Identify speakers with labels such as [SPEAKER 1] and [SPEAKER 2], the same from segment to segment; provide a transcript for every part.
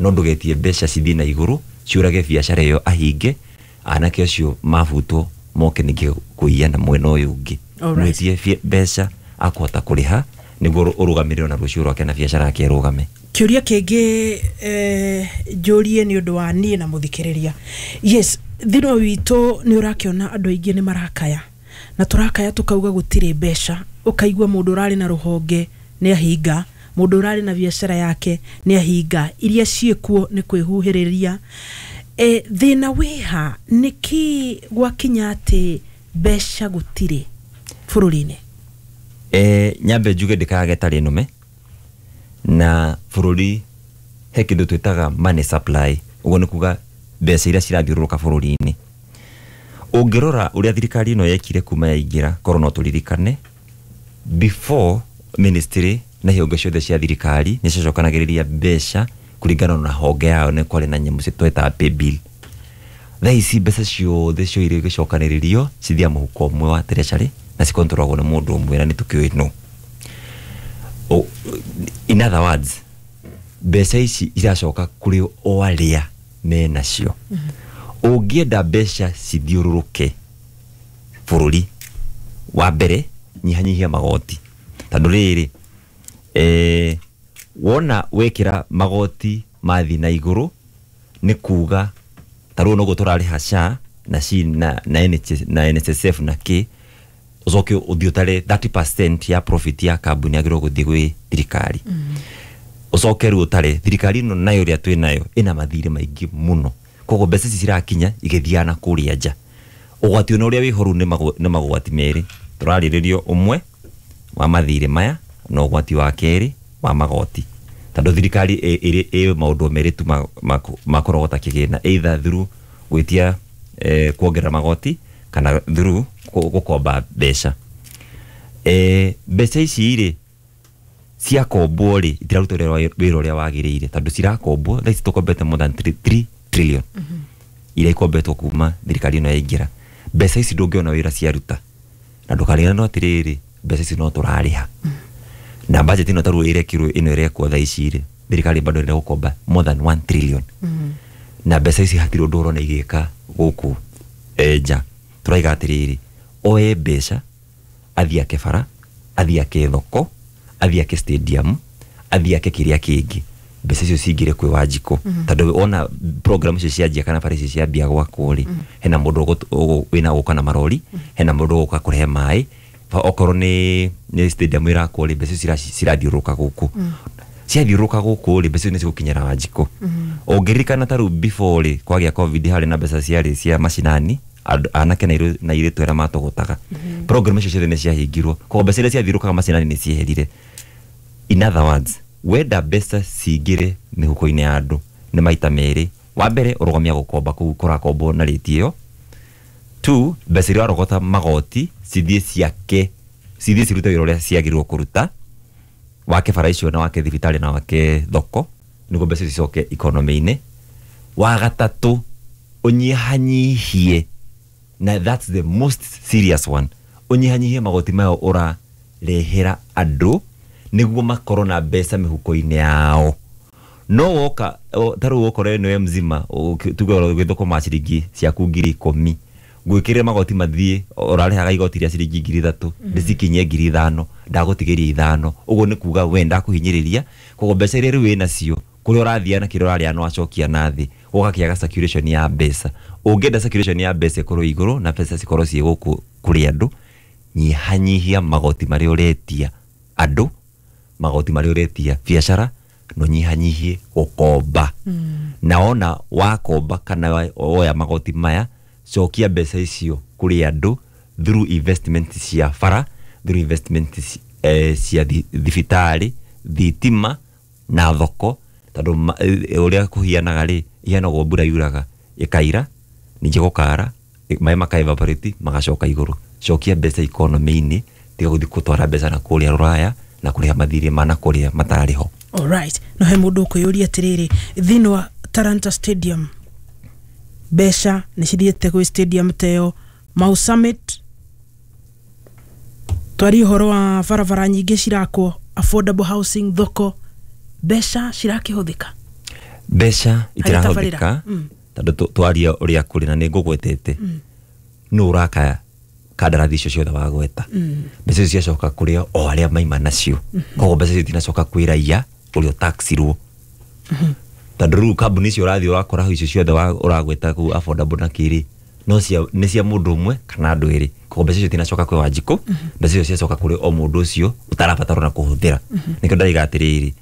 [SPEAKER 1] No ndũgetie mbeca cithiĩ na igũrũ ciũrage biacara ĩyo, ahinge anake acio mabutwo moke ningĩ kũiya na mwena ũyũ ũngĩ. Mwĩtie mbeca akũhota kũrĩha nĩguo ũrũgamĩrĩrwo na rũciũ rwake na biacara yake ĩrũgame.
[SPEAKER 2] Kĩũria kĩngĩ njũrie nĩ ũndũ wa niĩ na mũthikĩrĩria, yes, thĩinĩ witũ nĩ ũrakĩona andũ aingĩ nĩ marakaya na tũrakaya tũkauga gũtirĩ mbeca. Ũkaigua mũndũ ũrarĩ na rũhonge nĩ ahinga, mũndũ ũrarĩ na biacara yake nĩ ahinga, iria ciĩkuo nĩ kwĩhuhĩrĩria. Thĩna wĩha nĩkĩ gwakinya atĩ mbeca gũtirĩ bũrũri-inĩ?
[SPEAKER 1] Nyambe njuge ndĩkayage tarĩ nũme na bũrũri. He kĩndũ twĩtaga money supply, ũguo nĩ kuga mbeca iria cirathiũrũrũka bũrũri-inĩ. Ũngĩrora ũrĩa thirikari ĩno yekire kuma yaingĩra, korwo no tũririkane before, ministry na ihonge ciothe cia thirikari nĩ ciacokanagĩrĩria mbeca kũringana na honge yao, nĩ kwarĩ na nyamũ twetaga pay bill. Thaa ici mbeca ciothe cioire igĩcokanĩrĩrio cithiaga mũhuko ũmwe wa treasury na cikontrolagwo nĩ mũndũ ũmwe na nĩ tũkĩũĩ no. In other words, mbeca ici iracoka kũrĩ o arĩa menacio. Ũngĩenda mbeca cithiũrũrũke bũrũri, wa mbere nyihanyihia magoti, tondũ rĩrĩ wona wekĩra magoti mathiĩ na igũrũ, nĩ kuga ta rĩu noguo tũrarĩha SHA na SHI na NHS, na NSSF na kĩ, ũcoke ũthiĩ ũtare 30% ya profit ya kambuni yagĩrĩirwo gũthiĩ gwĩ thirikari. Ũcoke rĩu ũtare thirikari ĩno nayo ĩrĩa twĩ nayo ĩna mathirĩ maingĩ mũno, koguo mbeca ici cirakinya igĩthiaga na kũrĩa nja. Ũgwati ona ũrĩa wĩho rĩu nĩ magwati merĩ tũrarĩrĩrio, ũmwe wa mathirĩ maya na ũgwati wa kerĩ wa magoti, tondũ thirikari ĩ maũndũ merĩ tu makũrogota kĩgĩna, either through gwĩtia kuongerera magoti kana through gũkomba mbeca. Mbeca ici rĩ ciakombwo rĩ, itiraruta wĩra ũrĩa wagĩrĩire, tondũ cirakombwo thaa ici tũkombete more than 3 trillion iria ikombetwo kuma thirikari ĩno yaingĩra. Mbeca ici ndũngĩona wĩra ciaruta, na ndũkariganĩrwo atĩrĩrĩ, mbeca ici no tũrarĩha na budget ĩno tarĩu ĩrekirwo ĩno ĩrekwo thaa ici rĩ, thirikari bado ĩrenda gũkomba more than 1 trillion na mbeca ici hatirĩ ũndũ ũrona igĩka gũkũ nja. Tũraiga atĩrĩrĩ, oe mbeca athiĩ ake bara, athiĩ ake thoko, athiĩ ake stadium, athiĩ ake kĩrĩa kĩngĩ, mbeca icio cingĩre kwĩ Wanjikũ, tondũ ona program icio cianjia kana bara icio ciambia gwakwo rĩ, hena mũndũ wĩna gũka na marori, hena mũndũ ũgũka kũrehe maĩ. Okorwo nĩ stadium ĩrakwo rĩ, mbeca icio cirathiũrũrũka gũkũ, ciathiũrũrũka gũkũ rĩ, mbeca icio nĩ cigũkinyĩra Wanjikũ. Ũngĩririkana ta rĩu before rĩ kwagĩa COVID, harĩ na mbeca ciarĩ cia macinani, anake na airĩtu arĩa matũgũtaga. Program icio ciothe nĩ ciahingirwo, koguo mbeca iria ciathiũrũrũkaga macinani nĩ cieherire. In other words, wenda mbeca cingĩre mĩhuko-inĩ ya andũ nĩ maita merĩ. Wa mbere, ũrũgamia gũkomba kũu kũrakombwo na rĩti ĩyo. Two, mbeca iria warogota magoti cithiĩ ciake, cithiĩ cirute wĩra ũrĩa ciagĩrĩirwo kũruta, wake bara icio na wake thibitarĩ na wake thoko, nĩguo mbeca icio cicoke economy-inĩ. Wa gatatũ, ũnyihanyihie, na that's the most serious one, ũnyihanyihie magoti maya ũrarehera andũ nĩguo makorwo na mbeca mĩhuko-inĩ yao. No woka ta rĩu ũkorwo nĩwe mzima, tuge ũgĩthũkũma ciringi ciaku 10,000, ngwĩkĩrĩre magoti mathiĩ ũrarĩhaga igoti rĩa ciringi 3,000, ndĩcikinyie 5,000, ndagũtigĩria 5. Ũguo nĩ kuga we ndakũhinyĩrĩria, koguo mbeca iria rĩu wĩnacio kũrĩa ũrathiĩ na kĩrĩa ũrarĩa no acokia na thĩ, gũgakĩaga circulation ya mbeca. Ũngĩenda circulation ya mbeca ĩkorwo igũrũ na mbeca cikorwo ciĩ gũkũ kũrĩ andũ, nyihanyihia magoti marĩa ũretia andũ, magoti marĩa ũretia biacara, na ũnyihanyihie gũkomba. Na wona wakomba kana woya magoti maya, cokia mbeca icio kũrĩ andũ through investment cia bara, through investment cia thibitarĩ, thitima na thoko, tondũ ũrĩa kũhianaga rĩ, ihianagwo mbura yuraga ĩkaira, ningĩ gũkara, maĩ maka evaporate magacoka igũrũ. Cokia mbeca economy-inĩ, tiga gũthiĩ gũtwara mbeca na kũrĩa rũraya na kũrĩha mathirĩ ma na kũrĩa matarĩ ho.
[SPEAKER 2] Alright, no he mũndũ ũkwĩyũria atĩrĩrĩ, thĩinĩ wa Talanta Stadium mbeca nĩ cithiĩte gwĩ stadium ta ĩyo, Mau Summit, twarie ũhoro wa barabara nyingĩ cirakwo, affordable housing, thoko, mbeca cirakĩhũthĩka?
[SPEAKER 1] Mbeca itirahũthĩka tondũ twaria ũrĩa kũrĩ na nĩ ngũgwetete nũ ũraka kandarathi icio ciothe wagweta. Mbeca icio ciacoka kũrĩ o arĩa maima nacio, koguo mbeca icio itinacoka kwĩ raia ũrĩa ũtaxirwo, tondũ rĩu kambuni icio ũrathiĩ ũrakora icio ciothe ũragweta kũu affordable na kĩrĩ no cia nĩ cia mũndũ ũmwe kana andũ erĩ, koguo mbeca icio itinacoka kwĩ Wanjikũ, mbeca icio ciacoka kũrĩ o mũndũ ũcio ũtarabatarwo na kũhũthĩra. Nĩkĩo ndaiga atĩrĩrĩ,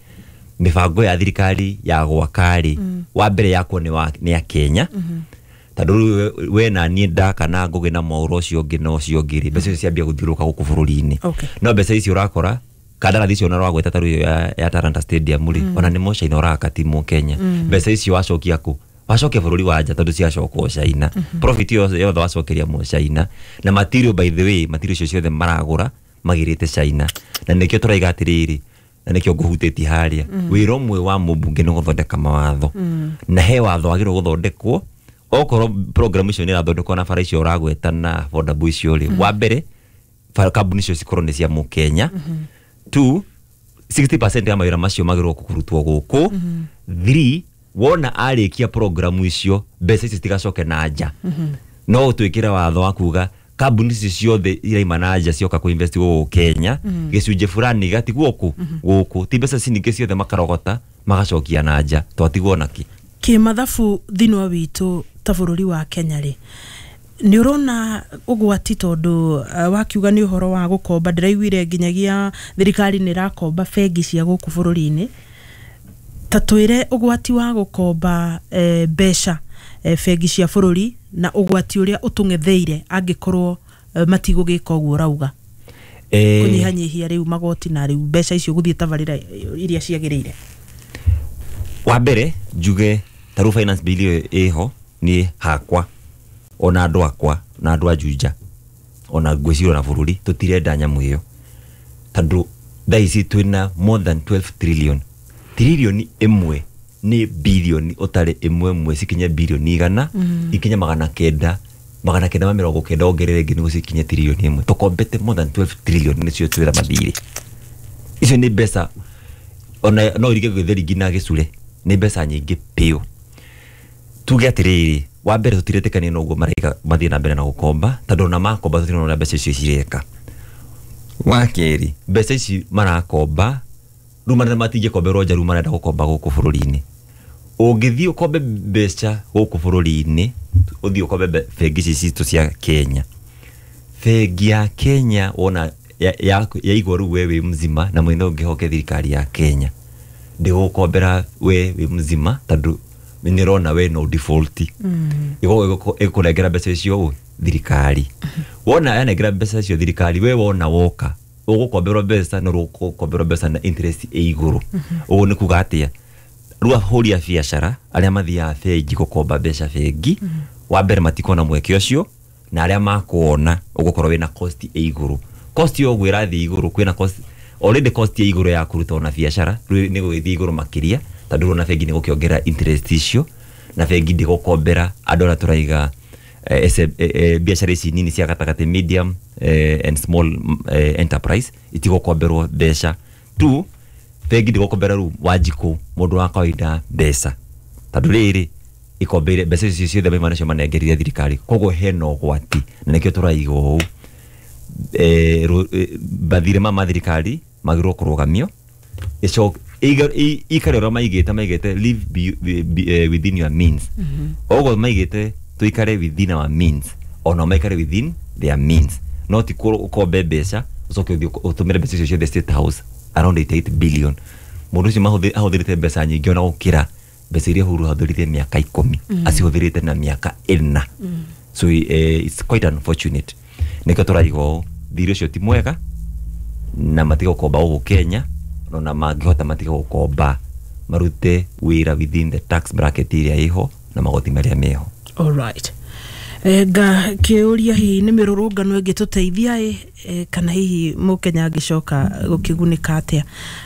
[SPEAKER 1] mĩbango ya thirikari ya gwaka rĩ, wa mbere yakwo nĩ ya Kenya, tondũ rĩu we na niĩ ndaka na Ngũgĩ na Mwaũra ũcio ũngĩ na ũcio ũngĩ rĩ, mbeca icio ciambia gũthiũrũrũka gũkũ bũrũri-inĩ. No mbeca icio ũrakora kandarathi icio ona ũragweta ta rĩu ya Talanta Stadium rĩ, ona nĩ Mũcaina ũraka ti Mũkenya. Mbeca icio wacokia kũ? Wacokia bũrũri wa nja, tondũ ciacokwo China, profit yothe yothe wacokeria Mũcaina. Na material, by the way, material icio ciothe maragũra magĩrĩte China, na nĩkĩo tũraiga atĩrĩrĩ, na nĩkĩo ngũhutĩtie harĩa, wĩra ũmwe wa mũmbunge nĩ gũthondeka mawatho, na he watho wagĩrĩirwo gũthondekwo okorwo program icio nĩ irathondekwo na bara icio ũragweta na affordable icio rĩ. Wa mbere, kambuni icio cikorwo nĩ cia Mũkenya. Two, 60% ya mawĩra macio magĩrĩirwo kũrutwo gũkũ. Three, wona arĩkia programu icio, mbeca icio citigacoke na nja, no ũtwĩkĩre watho wa kuga kambuni icio ciothe iraima na nja cioka kũ invest gũkũ Kenya, gĩcunjĩ fulani gatigwo kũ gũkũ, ti mbeca ciningĩ ciothe makarogota magacokia na nja, twatigwo naki.
[SPEAKER 2] Kĩmathabu thĩinĩ witũ ta bũrũri wa Kenya rĩ, nĩ ũrona ũgwati? Tondũ wakiuga nĩ ũhoro wa gũkomba, ndĩraiguire nginyagia thirikari nĩ ĩrakomba bengi cia gũkũ bũrũri-inĩ. Ta twĩre ũgwati wa gũkomba mbeca bengi cia bũrũri na ũgwati ũrĩa ũtũng'etheire angĩkorwo matigũgĩka ũguo ũrauga, kũnyihanyihia rĩu magoti na rĩu mbeca icio gũthiĩ tabarĩra iria ciagĩrĩire.
[SPEAKER 1] Wa mbere njuge ta rĩu finance bill ĩyo ĩho, niĩ hakwa ona andũ akwa na andũ a Juja ona ngwĩciria ona bũrũri tũtirenda nyamũ ĩyo, tondũ thaa ici twĩna more than 12 trillion. Trillion ĩmwe nĩ bilioni ũtarĩ ĩmwe ĩmwe cikinye bilioni 100, ikinye 900, 990, ongerere ĩngĩ nĩguo cikinye trilioni ĩmwe. Tũkombete more than 12 trillion, nĩcio twĩra mathirĩ. Icio nĩ mbeca ona no irige gĩtheri nginya gĩcure, nĩ mbeca nyingĩ biũ. Tuge atĩrĩrĩ, wa mbere tũtiretĩkania na ũguo mareka mathiĩ na mbere na gũkomba, tondũ ona makomba tũtirona ũrĩa mbeca icio cireka. Wa kerĩ, mbeca ici marakomba rĩu marĩa matingĩkomberwo nja, rĩu marenda gũkomba gũkũ bũrũri-inĩ. Ũngĩthiĩ ũkombe mbeca gũkũ bũrũri-inĩ, ũthiĩ ũkombe bengi ici citũ cia Kenya, bengi ya Kenya wona yaigua rĩu we wĩ mzima na mwene ũngĩhoke thirikari ya Kenya ndĩgũkombera we wĩ mzima, tondũ nĩrona we no default, ĩgũkũnengera mbeca icio ũ thirikari. Wona yanengera mbeca icio thirikari, we wona woka ũgũkomberwo mbeca no ũgũkomberwo mbeca na interest ĩ igũrũ. Ũguo nĩ kuga atĩa? Rĩu ahũri a biacara arĩa mathiaga bengi gũkomba mbeca bengi, wa mbere matikona mweke ũcio, na arĩa makuona ũgũkorwo wĩna cost ĩ igũrũ. Cost yo ũguo ĩrathiĩ igũrũ, kwĩna cost already, cost ĩ igũrũ ya kũruta ona biacara rĩu nĩ gũgĩthiĩ igũrũ makĩria, tondũ rĩu ona bengi nĩ gũkĩongerera interest icio, na bengi ndĩgũkombera andũ arĩa tũraiga biacara ici nini cia gatagatĩ, medium and small enterprise, itigũkomberwo mbeca tu. Bengi ndĩgũkombera rĩu Wanjikũ mũndũ wa kawaida mbeca, tondũ rĩrĩ ikombeire mbeca icio ciothe maima nacio manengerire thirikari. Koguo hena ũgwati, na nĩkĩo tũraiga ũũ, mathirĩ ma thirikari magĩrĩirwo kũrũgamio, ikare ũrĩa maigĩte live within your means. Ũguo maigĩte tuikare within our means, ona maikare within their means, no ti ũkombe mbeca ũcoke ũthiĩ ũtũmĩre mbeca icio ciothe State House, around 88 billion. Mũndũ ũcio ahũthĩrĩte mbeca nyingĩ ona gũkĩra mbeca iria Uhuru ahũthĩrĩte mĩaka 10, acihũthĩrĩte na mĩaka 4. So it's quite unfortunate. Nĩkĩo tũraiga ũũ, thirĩ ũcio ti mwega na matige gũkomba gũkũ Kenya, ona mangĩhota matige gũkomba, marute wĩra within the tax bracket ĩrĩa ĩho na magoti marĩa meho.
[SPEAKER 2] Alright. Nga kĩũria, hihi nĩ mĩrũrũngano ĩngĩtũteithia ĩ kana hihi mũkenya angĩcoka gũkĩgunĩka atĩa?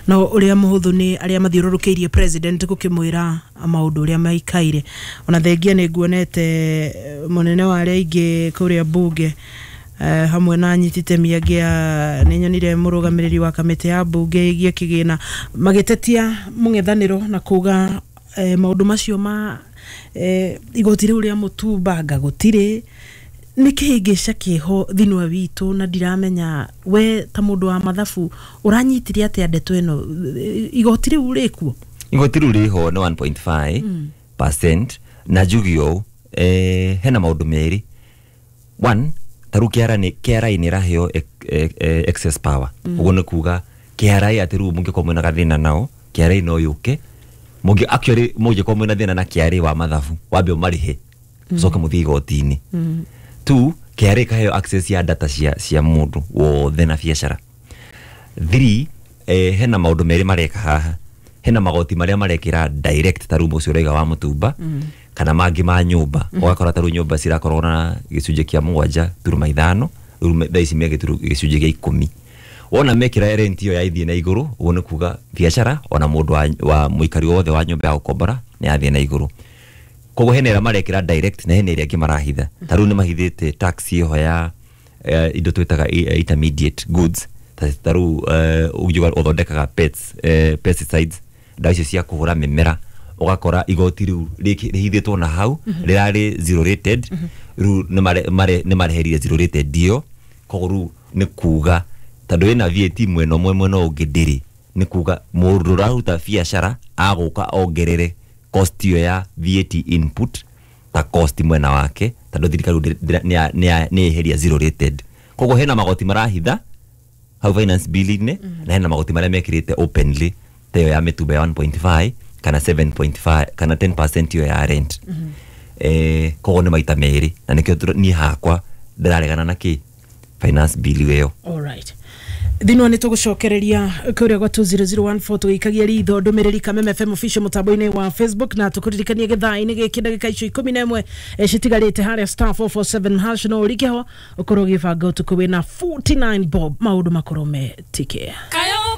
[SPEAKER 2] No ũrĩa mũhũthũ nĩ arĩa mathiũrũrũkĩirie president gũkĩmwĩra maũndũ ũrĩa maikaire. Ona thengia nĩ nguonete mũnene wa arĩa aingĩ kũrĩa mbunge hamwe na anyiti itemi angĩ a nĩ nyonire mũrũgamĩrĩri wa kamĩtĩ ya mbunge ĩgiĩ kĩgĩna magĩtetia mũng'ethanĩro na kuga Maũndũ macio ma igoti rĩu rĩa mũtumbanga gũtirĩ nĩ kĩhĩngĩca kĩho thĩinĩ witũ, na ndiramenya we ta mũndũ wa mathabu ũranyitire atĩa ndeto ĩno, igoti rĩu rĩkuo?
[SPEAKER 1] Igoti rĩu rĩho nĩ 1.5%, na njuge ũũ, hena maũndũ merĩ. One, ta rĩu KRA nĩ KRA nĩ ĩraheo excess power. Ũguo nĩ kuga KRA atĩ rĩu mũngĩkorwo mwĩna gathĩna nao, KRA no yũke. Mũngĩ actually mũngĩkorwo mwĩna thĩna na KRA wa mathabu, wambe ũmarĩhe ũcoke mũthiĩ igoti-inĩ. Two, KRA ĩkaheo access ya data cia mũndũ wothe na biacara. Three, hena maũndũ merĩ mareka haha. Hena magoti marĩa marekĩra direct, ta rĩu ũcio ũraiga wa mũtumba, kana mangĩ ma nyũmba. Ũgakora ta rĩu nyũmba cirakorwo na gĩcunjĩ kĩa 7.5, rĩu thaa ici me gĩcunjĩ kĩa 10. Wona mekĩra rent ĩyo ya ithiĩ na igũrũ, ũguo nĩ kuga biacara ona mũndũ wa mũikari wothe wa nyũmba ya gũkombora nĩ yathiĩ na igũrũ. Koguo hena ĩrĩa marekĩra direct na hena ĩrĩa ĩngĩ marahitha. Ta rĩu nĩ mahithĩte tax ĩho ya indo twĩtaga intermediate goods, ta rĩu ũngiuga ũthondekaga pets, pesticides, ndawa icio cia kũhũra mĩmera, ũgakora igoti rĩu rĩhithĩtwo na hau rĩrarĩ zero rated. Rĩu nĩ mareherire zero rated ĩyo. Koguo rĩu nĩ kuga tondũ ĩna VAT mwena ũmwe, mwena ũngĩ ndĩrĩ, nĩ kuga mũndũ ũraruta biacara agũka ongerere cost ĩyo ya VAT input ta cost mwena wake, tondũ thirikari nĩ yeheria zero rated. Koguo hena magoti marahitha hau finance bill-inĩ, na hena magoti marĩa mekĩrĩte openly, ta ĩyo ya mĩtumba ya 1.5 kana 7.5 kana 10% ĩyo ya rent. Koguo nĩ maita merĩ, na nĩkĩo niĩ hakwa ndĩraregana na kĩ finance bill ĩyo.
[SPEAKER 2] Alright, thĩinĩ nĩ tũgũcokereria kũrĩa gwa 20014 tũgĩikagia ritho ndũmĩrĩri Kameme FM official mũtambo-inĩ wa Facebook, na tũkũririkanie gĩthaa-inĩ gĩkĩ ndagĩka icio 11 citigarĩte harĩa *447# no ũrike ho ũkorwo ũgĩbanga ũtukũ wĩna 49 bob, maũndũ makorwo me tike.